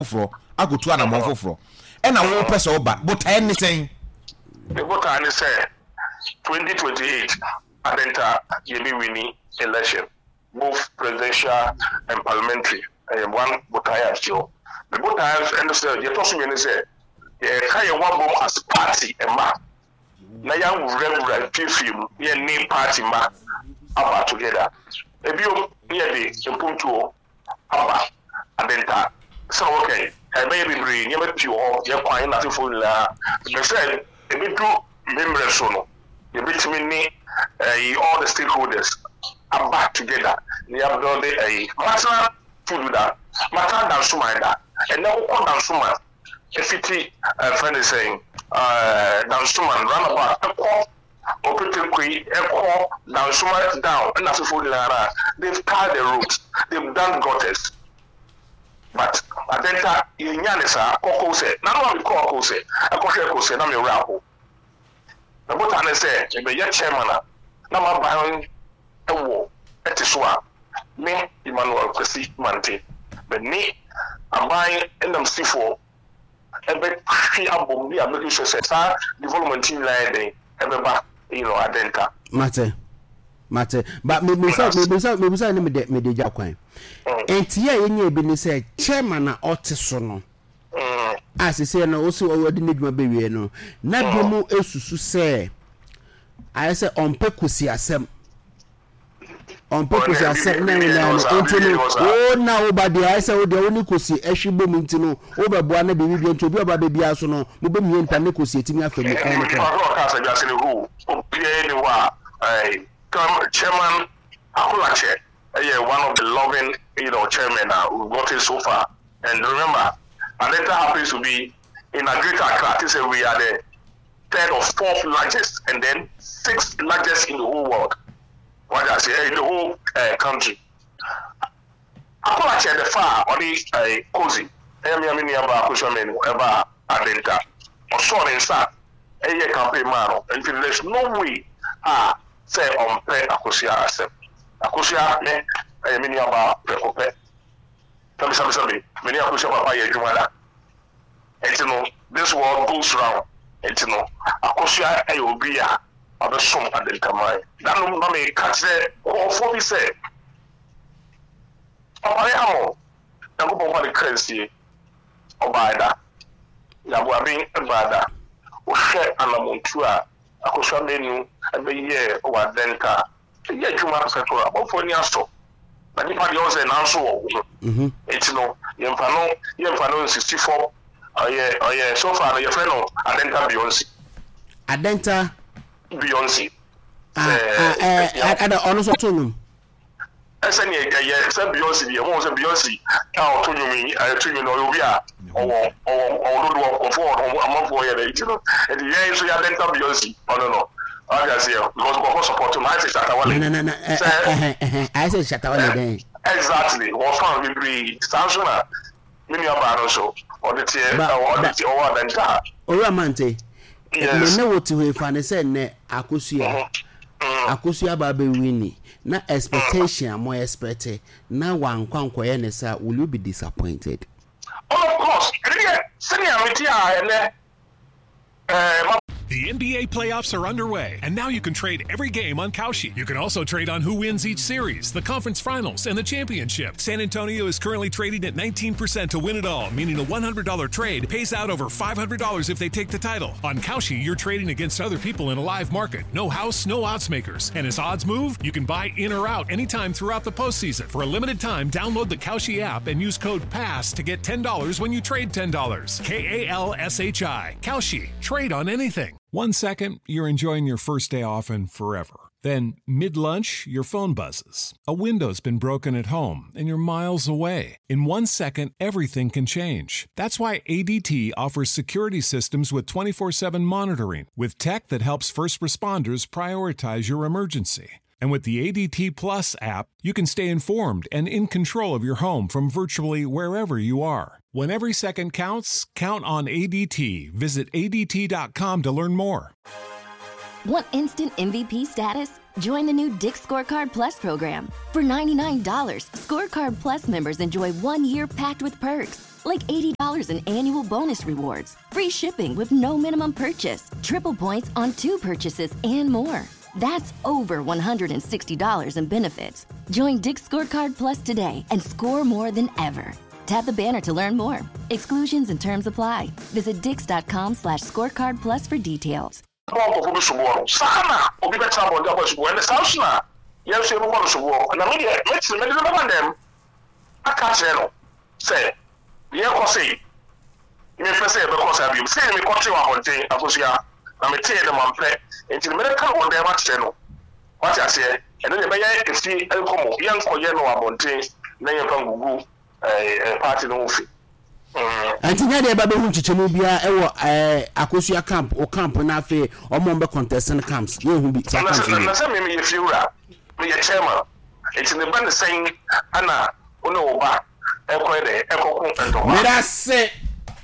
foforɔ akɔtu anammɔn foforɔ ɛna wopɛ sɛ woba. Botaeɛ ne sɛn? Me botaeɛ ne sɛ 2028 Adenta yɛbɛ wini election both presidential and parliamentary ɛyɛ one botaeɛ a ɛsi hɔ. Me botaeɛ nso ɛne sɛ deɛ ɛtɔ so mmienu ne sɛ yɛka yɛn ho abom as party mma na yɛawurawura mfiefie mu na yɛne party mma aba together. Ebio ne yɛde mpuntuo aba Adenta sɛ wɔka yi ɛbɛyɛ bebree nneɛma pii wɔ hɔ yɛ kwan na asefoɔ nyinaa pɛ sɛ ɛbɛdu me mmerɛ so no yɛbɛtumi ne ɛyi all the stakeholders aba together na yɛabuilde ɛyi matena tudu da matena Dansoman da ɛnɛ wokɔ Dansoman ɛfiti ɛfrɛ ne sɛn ɛɛ Dansoman roundabout ɛkɔ Opetekui ɛkɔ Dansoma down ɛna asefoɔ nyinaa no a they've tarred the roads, they've done gutters but Adenta yɛnnya ne saa. Kɔ Kose, nano a mekɔɔ Kose ɛkɔhwɛɛ Kose na me werɛ aho. Me botae ne sɛ mebɛyɛ chairman a na m'aban wɔ ɛte so a me Emmanuel Kwasi Mante me ne aban nnamsifoɔ ɛbɛtwe abom ne a make sure sɛ saa development yi nyinaa yɛ dɛn ɛbɛba you know Adenta. Mate mate ba mebisa mebisa mebisa ne mede mede gya kwan. Nti yɛ yɛnyɛ bi ne sɛ chairman a ɔte so no a sese no ɔsi ɔde n'adwuma bɛwie no na bi mu esusu sɛ ayɛ sɛ ɔmpɛ kosi asɛm. Ɔmpɛ kosi asɛm na ɛna no nti no wo na wo ba deɛ ayɛ sɛ wo deɛ wo ne kosi ɛhwe bom nti no wo bɛboa na biribi bia nti obi ɔba bɛ biara so no mo bɛ mie nta ne kosi etimi afa mu ɛyɛ no korɛ. Ɔka sɛ wiase no hu obiara ni hɔ a ɛɛ chairman Akolakyɛ ɛyɛ one of the loving you know chairman a we've gotten so far and remember Adenta happens to be in a Greater Accra te sɛ we are the third or fourth largest and then sixth largest in the whole world wate aseɛ in the whole uh, country Akolakyɛ the fa a ɔde uh, Kozi ɛyɛ me a me nua baa Akosua Manu ɛbaa Adenta ɔsɔɔ ne nsa ɛyɛ campaign maa no nti there's no way a sɛ ɔmpɛ Akosua asɛm Akosua me ɛyɛ me nua baa prɛko pɛ sɛbisɛbisɛbi me ne Akosua papa yɛ adwuma da Nti no this world goes round nti no Akosua yɛ obi a wabɛsom Adenkaman. Danom na meka kyerɛ nkurɔfoɔ bi sɛ Ɔpare Hammond, Nyankopɔn mfa ne kra nsie, ɔbaa da, Nyaboaben baa da, wohwɛ anamontuo a Akosua Manu bɛyɛɛ wɔ Adenta a, Yɛ adwuma no pɛpɛɛpɛ abɔfoɔ ani asɔ na nipa deɛ ɔsɛ nanso wɔ wo ho mhm. nti no yɛmfa no yɛmfa no nsisi fam ɔyɛ ɔyɛ so far no yɛfrɛ no Adenta Beyonce Adenta Beyonce ah, ah, eh, eh, ada ɔno nso ɔto nnwom ɛsɛ nea ɛyɛ sɛ Beyonce deɛ mo sɛ Beyonce a ɔto nnwom yi ɛto nnwom no ɔyɛ obi a ɔwɔ ɔwɔ ɔwɔ dodoɔ nkurɔfoɔ wɔ amanfoɔ yɛ dɛ nti no nti yɛn nso yɛadɛnta Beyonce ɔno no wate aseɛ because nkurɔfoɔ support no ayɛ sɛ Shatta Wale na na na sɛ ayɛ sɛ Shatta Wale dɛn exactly wɔ fan bebree saa nso na me nua baa no nso ɔde teɛ ɔde teɛ ɔwɔ adɛnta Owura Mante me ne wo te hɔ yi fa ne sɛ nnɛ Akosua Akosua aba abɛwini na expectation a mo expect na wankɔ ankɔyɛ ne saa will you be disappointed? Oh of course, ɛno deɛ sɛnea mete a ɛnɛ ɛɛ ma. The NBA playoffs are underway, and now you can trade every game on Kalshi. You can also trade on who wins each series, the conference finals, and the championship. San Antonio is currently trading at 19% to win it all, meaning a $100 trade pays out over $500 if they take the title. On Kalshi, you're trading against other people in a live market. No house, no odds makers. And as odds move, you can buy in or out anytime throughout the postseason. For a limited time, download the Kalshi app and use code PASS to get $10 when you trade $10. K A L S H I. Kalshi. Trade on anything. One second, you're enjoying your first day off and forever. Then, mid lunch, your phone buzzes. A window's been broken at home and you're miles away. In one second, everything can change. That's why ADT offers security systems with 24 7 monitoring, with tech that helps first responders prioritize your emergency. And with the ADT Plus app, you can stay informed and in control of your home from virtually wherever you are. When every second counts, count on ADT. Visit ADT.com to learn more. Want instant MVP status? Join the new Dick's Scorecard Plus program. For $99, Scorecard Plus members enjoy one year packed with perks, like $80 in annual bonus rewards, free shipping with no minimum purchase, triple points on two purchases, and more. That's over $160 in benefits. Join Dick's Scorecard Plus today and score more than ever. Tap the banner to learn more. Exclusions and terms apply. Visit dicks.com slash scorecard plus for details. Bɔ nkurɔfoɔ bi soboɔ no, saa ara na obi bɛtena abɔnten abɔ soboɔ. Ɛnde saa nso na yɛn nso yɛbɛbɔ no soboɔ. Na me deɛ, mɛtene, mede no bɛba dɛm aka akyerɛ no sɛ, Deɛ ɛrekɔ sei, mempɛ sɛ ɛbɛkɔ saa bio. Sei na mekɔtee wɔ abɔnten, Akosua, na meteeɛ no, mampɛ. Enti no, mɛka no wɔ dɛm akyerɛ no. Woate aseɛ? Ɛno deɛ, ɛbɛyɛ efie nkɔmmɔ. Yɛnkɔyɛ no wɔ abɔnten na yɛmfa ngugu ɛɛ party no ho fi. Mm. Ɛnti nyɛ deɛ ɛba bɛhu nkyekyɛmu biara ɛwɔ ɛɛ Akosua camp o camp na afei ɔmo ɔmo bɛ contest no camps yɛnhu bi saa camps no bi. Na sɛ me meyɛ fiewura, meyɛ chairman, nti ne ba ne sɛn ana wo ne wo ba ɛkɔyɛ dɛ ɛkɔko ntɔkwa. Medase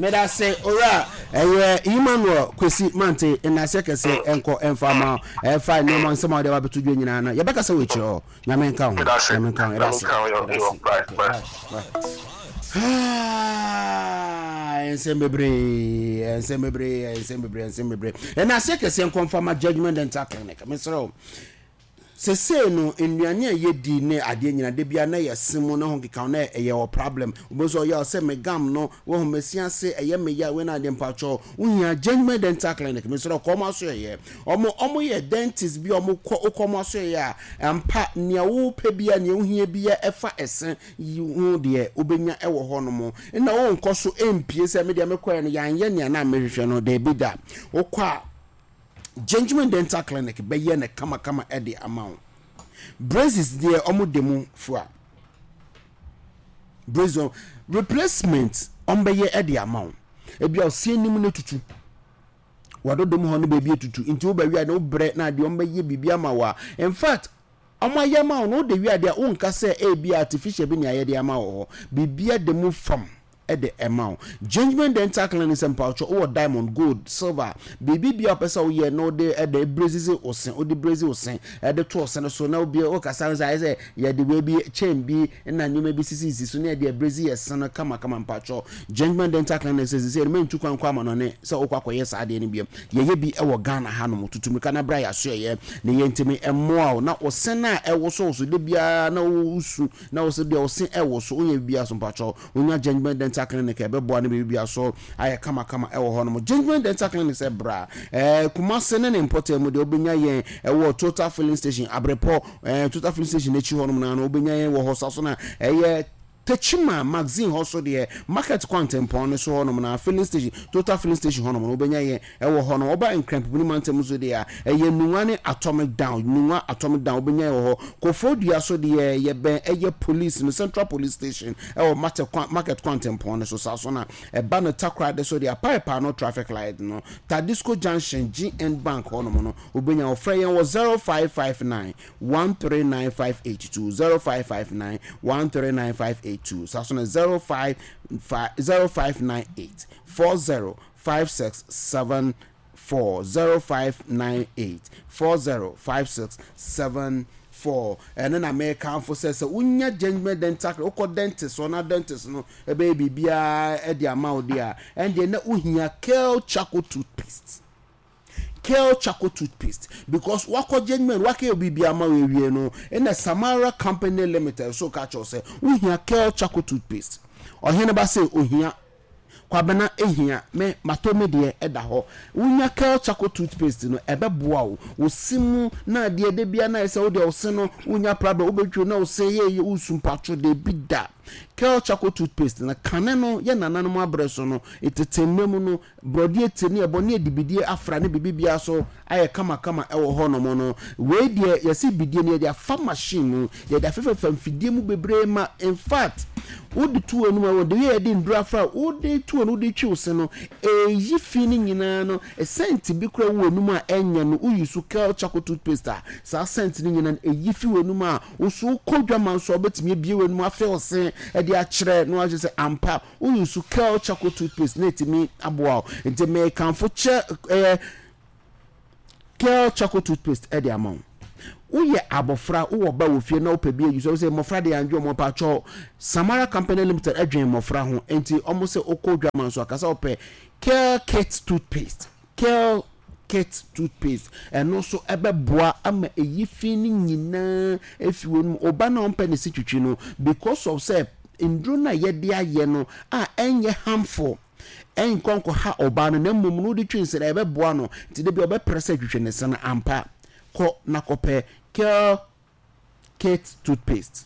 medase owura ɛyɛ Emmanuel Kwesi Mante nnaseɛ kɛseɛ ɛnkɔ ɛnfa ma ɛfa nneɛma nsɛm a wɔde aba abɛto dwa nyinaa no yɛbɛkasa wɔ akyire hɔ. Nyame nka ho. Nyame nka ho. Yɛda ase. Yɛda ase. Okay, bye. Bye. Ah, nsɛm bebree, nsɛm bebree, nsɛm bebree, nsɛm bebree. Ɛna aseɛ kɛseɛ nkɔmfa ma Judgment Dental Clinic. Mesrɛ wo. Sesei no, nnuane a yɛdi ne adeɛ nyina da biara na yɛse mu ne ho keka ho na ɛyɛ wɔ problem. Wobɛhu sɛ ɔyɛ sɛ me gum no, wahu mesi ase, ɛyɛ me ya, wei na adeɛ mpakyɛw. Wohia Judgment Dental Clinic. Mesrɛ wo, kɔ wɔn asoɛeɛ. Ɔmo ɔmo yɛ dentist bi a ɔmo kɔ wokɔ ɔmo asoɛeɛ a, ampa nea wopɛ biara, nea wohia biara ɛfa ɛse yi ho deɛ wobɛnya ɛwɔ hɔ nom. Nna wonkɔ so mpie sɛ medeɛ mekɔɛ no yɛanyɛ nea na mehwehwɛ no, daabi da. Wokɔ a Gentleman Dental Clinic bɛyɛ no kamakama ɛde ama wo. Braces deɛ ɔmo de mu fua. Braces replacement ɔmo bɛyɛ ɛde ama wo. Ebia ɔse anim no tutu. W'adodom hɔ no baabi atutu nti woba wia no wobrɛ na adeɛ ɔmbɛyɛ biribi ama wo a in fact ɔmo ayɛ ama wo no wode wia deɛ wonka sɛ ebi artificial bi ne ayɛ de ama wɔ hɔ biribia da mu fam de ɛma wo. Gentleman Dental Clinic sɛ mpawokyɛ wowɔ diamond, gold, silver biribi bia wopɛ sɛ woyɛ na wode ɛde braises wo se wode braise wo se ɛde to wo se no so na obi wokasa no sɛ ayɛ sɛ yɛde wei bi chain bi na nneɛma bi sisisisi so na yɛde abrɛsi yɛ se no kamakama mpakyɛw Gentleman Dental Clinic sɛ sesei no mentu kwan kɔ amanɔne sɛ wokɔ akɔyɛ saa adeɛ no biom yɛyɛ bi wɔ Ghana hanom tutu mirika na bra yɛasoɛyɛ na yɛntumi mmoa wo na wo se no a ɛwosowoso da biara na wosu na wo se deɛ wo se ɛwoso wonyɛ biribiara so mpakyɛw wonya Gentleman Dental Clinic a ɛbɛboa ne biribiara so ayɛ kamakama ɛwɔ hɔnom Gentleman Dental Clinic sɛ bra ɛɛ Kumase ne ne mpɔtam mu deɛ wobɛnya yɛn ɛwɔ Total Filling Station Abrepɔ Ɛɛ Total filling station n'akyi hɔnom naa no wobɛnya yɛn wɔ hɔ sa so na ɛyɛ Techiman Magazine hɔ so deɛ market kwantempɔn no so hɔnom na filling station Total filling station hɔnom no wobɛnya yɛn ɛwɔ hɔ no. Woba Nkrampopini mantam nso deɛ a ɛyɛ Nungua ne Atomic Down Nungua Atomic Down wobɛnya yɛn wɔ hɔ. Koforidua so deɛ yɛbɛn ɛyɛ police no Central Police Station ɛwɔ market kwantempɔn no so sa so na ɛba no Takoradi so deɛ Apaepaano traffic light no Tadisco Junction GN Bank hɔnom no Wobɛnya wo. Frɛ yɛn wɔ 0559 139582, 0559 139582, saa so na 05 0598 405674, 0598 405674. Ɛno na mekamfo sɛ sɛ wonya Gentleman Dental Clinic, wokɔ dentist hɔ na dentist no ɛbɛyɛ biribiara de ama wo deɛ a, ɛndeɛ na wohia Kel Charcoal Toothpaste. Kel charcoal toothpaste because wakɔ judgement wakɛyɛ biribi ama wo awie no ɛna Samara company limited so ka kyerɛ sɛ wohia Kel charcoal toothpaste. Ɔhene ba sɛ ohia Kwabena ehia me matɔ me deɛ ɛda hɔ. Wonya Kel charcoal toothpaste no ɛbɛboa wo wo se mu na adeɛ da bia na ayɛ sɛ wo deɛ wo se no wonya problem wobɛtwi na wo se yɛ yɛ wosu mpatwo debi da. Kel charcoal toothpaste no kane no yɛ nananom abrɛ so no tete mmerɛ mu no Borɔdeɛ ti ne ɛbɔ ne adibidie afra ne biribiara so ayɛ kamakama wɔ hɔ nom no. Wei deɛ yɛse bidie no yɛde afa machine mu, yɛde afefɛfa mfidie mu bebree ma infact wode to w'anum a the way yɛde nnuro afra wode to w'anum wode twi wo se no ɛyi fi no nyinaa no scent bi koraa wɔ w'anum a ɛnyɛ no wo use Kel charcoal toothpaste a saa scent no nyinaa no ɛyi fi w'anum a wo so wokɔ dwama nso a wobɛtumi abue w'anum afe wo se de akyerɛ na wakyerɛ sɛ ampa Wo use Kel charcoal toothpaste na etumi aboa wo. Nti mekamfo kyɛ ɛyɛ Kel charcoal toothpaste ɛde ama wo. Woyɛ abɔfra, wowɔ ba wɔ fie na wopɛ bi ayi so a, wosɛ mmɔfra deɛ yɛandwe wɔn mpakyɛw. Samara Company Limited dwen mmɔfra ho, enti wɔn sɛ wokɔ dwaman so a, ka sɛ wopɛ Kel Kit Toothpaste. Kel Kit Toothpaste, ɛno nso ɛbɛboa ama ɛyi fi no nyinaa afi w'anum. Wo ba no a ɔmpɛ ne se twitwi no, because of sɛ nnuro no a yɛde ayɛ no a ɛnyɛ harmful, ɛnkɔ nkɔha ɔbaa no, na mmom no wode twi ne se no, ɛbɛboa no. Nti da bi ɔbɛpere sɛ twitwi ne se no ampa. Kɔ na kɔpɛ Kel Kit toothpaste.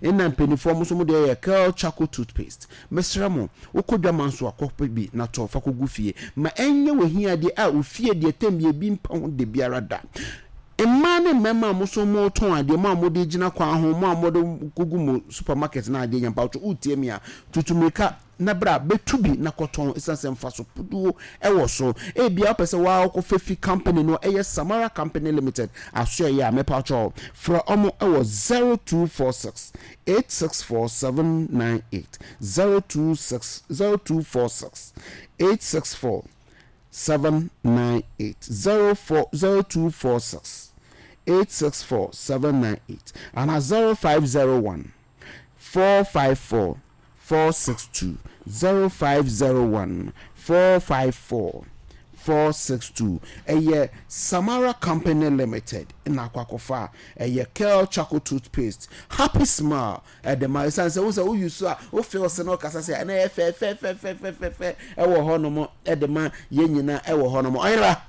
Nna mpaninfoɔ mo nso mo deɛ yɛ Kel charcoal toothpaste. Mesrɛ mo, wokɔ dwaman so a kɔpɛ bi na tɔ fa kɔgu fie. Ma ɛnyɛ w'ahiadeɛ a wo fie deɛ tɛm biara ebi mpa ho dabiara da. Mmaa ne mmarima a mo nso motɔn adeɛ, mo a mode gyina kwan ho, mo a mode kɔgu mo supermarket na adeɛ nya mpabokyɛ, wotie me a, tutu mmirika na bra bɛtu bi na kɔtɔn ɛsiane sɛ mfaso puduo wɔ so. Ebia wopɛ sɛ woara wokɔfa fi company no ɛyɛ Samara Company Limited asoɛeɛ a, mepakyɛw frɛ wɔn wɔ 0246 864 798, 026 0246 864 798, 04 0246 864 798 anaa 0501 454 462 0501 454 462 Ɛyɛ Samara Company Limited na akɔ akɔfa a ɛyɛ Kel Charcoal Toothpaste Happy Smile ɛde ma ɛsiane sɛ wohu sɛ wo use a wo feel sɛ na ɔkasa sɛ ɛna ɛyɛ fɛfɛfɛfɛfɛfɛ ɛwɔ hɔnom ɛde ma yɛn nyinaa ɛwɔ hɔnom ɔyera.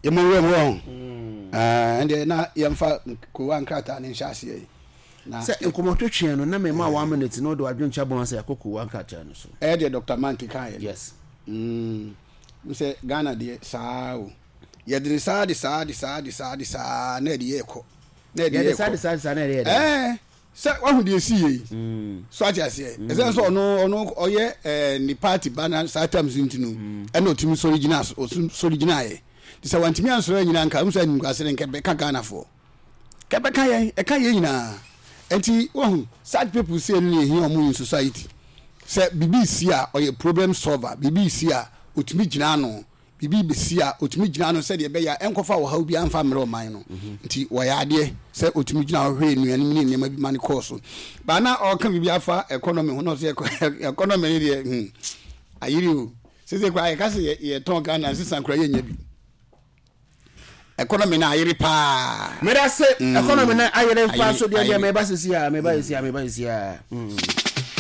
Yɛmmɔ nwura mu wɔn. Ɛndeɛ na yɛmfa kowa nkrataa no nhyɛ aseɛ yi. Na sɛ nkɔmmɔtwetweɛ no na mema one minute na wode w'adwenkyɛ abɔ sɛ yɛakɔ kowa nkrataa no so. Ɛyɛ deɛ Dr. Mann kekaeɛ no. Yes. Mm, sɛ Ghana deɛ saa o. Yɛde ne saa de saa de saa de saa de saa na ɛde yɛ kɔ. Na ɛde yɛ kɔ. Yɛde saa de saa de saa na ɛde yɛ dɛ. Ɛɛ Sɛ wahu deɛ ɛsii yɛ yi so ate aseɛ ɛsɛ sɛ ɔno ɔno ɔyɛ ɛɛ ne party ba na saa terms nti no ɛna ɔtumi sɔre gyina sɔre gyinaeɛ te sɛ wantumi ansɔre anyina nka ɛmu sɛ animguase no nka ɛbɛka Ghanafoɔ ka ɛbɛka yɛn ɛka yɛn nyinaa nti wahu such people sei no na ɛhia ɔmo in society sɛ biribi si a ɔyɛ problem solver biribi si a ɔtumi gyina ano biribi rebɛsi a, ɔtumi gyina ano sɛdeɛ ɛbɛyɛ a ɛnkɔfa ɔhaw biara mfa mmerɛ ɔman no. Nti wɔyɛ adeɛ sɛ ɔtumi gyina hɔ hwɛɛ nnuanom ne nneɛma bi ma no kɔɔ so. Baa na ɔreka biribi afa economy ho na ɔsɛ economy no deɛ hmm, ayere o. Sese koraa yɛka sɛ yɛtɔn Ghana nsesa koraa yɛnnya bi. Economy no ayere paa. Meda se economy no ayere paa so deɛ deɛ meba sisi a meba sisi a meba sisi a.